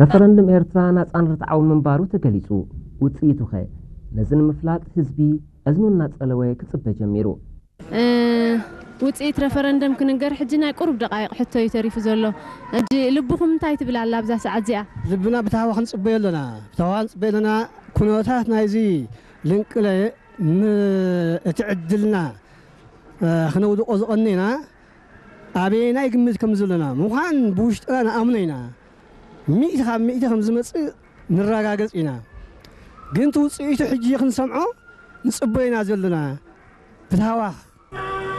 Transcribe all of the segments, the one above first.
ረፈረንድም ኤርትራ ናጻን ርትዓዊ ምንባሩ ተገሊጹ። ውጽኢቱኸ? ነዚ ንምፍላጥ ህዝቢ እዝኑ እናጸለወ ክጽበ ጀሚሩ። ውፅኢት ረፈረንደም ክንገር ሕጂ ናይ ቁሩብ ደቃይቕ ሕቶ እዩ ተሪፉ ዘሎ። ሕጂ ልብኹም እንታይ ትብል ኣላ ኣብዛ ሰዓት እዚኣ? ልብና ብታህዋ ክንፅበዮ ኣለና። ብታህዋ ክንፅበዮ ኣለና። ኩነታት ናይዚ ልንቅለ እቲ ዕድልና ክነውድቆ ዝቐኒና ኣበየናይ ግምት ከም ዘለና ምዃን ብውሽጥና ንኣምኖ ኢና። ሚእቲ ካብ ሚእቲ ከም ዝመፅእ ንረጋገፅ ኢና። ግን እቲ ውፅኢቱ ሕጂ ክንሰምዖ ንፅበዮ ኢና ዘለና። ብታህዋ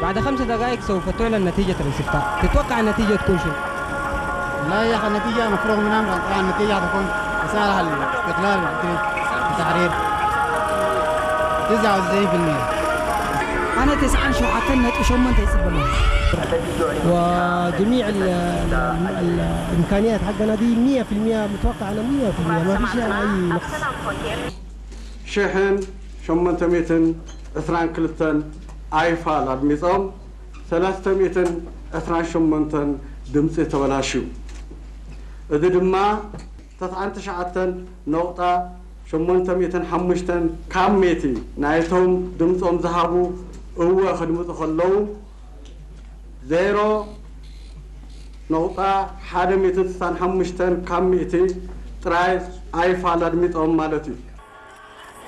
بعد خمس دقائق سوف تعلن نتيجة الاستفتاء. تتوقع النتيجة تكون شنو؟ لا يا أخي، النتيجة مفروغ منها. طبعا النتيجة حتكون رسالة للاستقلال والتحرير. تسعة وتسعين في المية. أنا تسعة وتسعين نقطة ثمانية يصيب لنا. وجميع ال- ال- ال- الإمكانيات حقنا دي مية في المية، متوقع أنا مية في المية، ما في شيء أي نقص. ሽሕን ሸሞንተ ሚእትን ዕስራን ክልተን ኣይፋል ኣድሚጾም፣ ሰለስተ ሚእትን ዕስራን ሸሞንተን ድምጺ ተበላሽዩ። እዚ ድማ ተስዓን ትሽዓተን ነቑጣ ሸሞንተ ሚእትን ሓሙሽተን ካብ ሚእቲ ናይቶም ድምጾም ዝሃቡ እወ ክድምጹ ከለዉ፣ ዜሮ ነቑጣ ሓደ ሚእትን ስሳን ሓሙሽተን ካብ ሚእቲ ጥራይ ኣይፋል ኣድሚጾም ማለት እዩ።